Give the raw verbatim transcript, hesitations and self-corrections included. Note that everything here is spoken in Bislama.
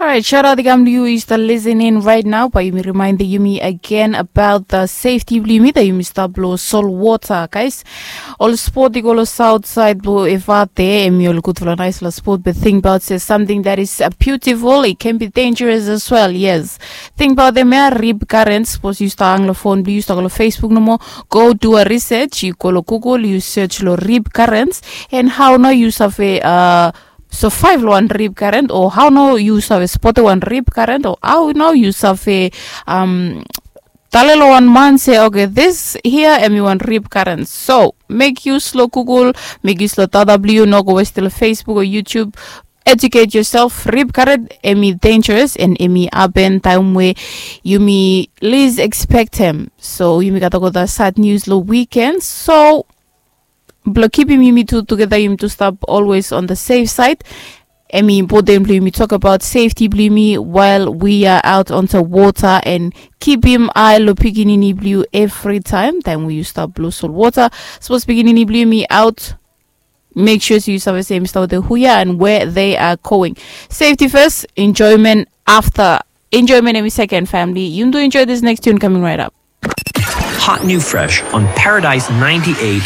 Alright, shout out i kam long yu, yu stap listening right now, bae yumi remaindem yumi again about the safety blong yumi, that yumi stap long solwota, guys. Ol spot i go long south side blong Efate, hemi ol gudfala naispela spot, but think about se something that is uh, beautiful, it can be dangerous as well. Yes, think about them ya, rip current. Sapos yu stap hang long phone blong yu, yu stap go long Facebook nomo, go do a research, yu go long Google, yu search long rip current, and how nao yu save uh, survive long wan rip current, o how nao yu save spotem wan rip current, o how nao yu save um, tale long wan man se, okay, this here hemi wan rip current. So make use long Google, make use long data blong yu, no go westem long Facebook o YouTube. Educate yourself. Rip current hemi dangerous and hemi happen taem we yumi least expect him. So yumi gat olgeta sad news long weekend. So blong kipim yumi tu tugeta, yumi tu stap always on the safe side. Hemi important blong yumi tok about safety blong yumi while we are out on the water, and kipim ae long pikinini blong yu every time, taem we yu stap long solwota. Sapos pikinini blong yumi out, make sure se yu save se yumi stap wetem hu ya and where they are going. Safety first, enjoyment after. Enjoyment hemi second, family. Yumi tu enjoy this next tune coming right up. Hot new fresh on Paradise ninety-eight.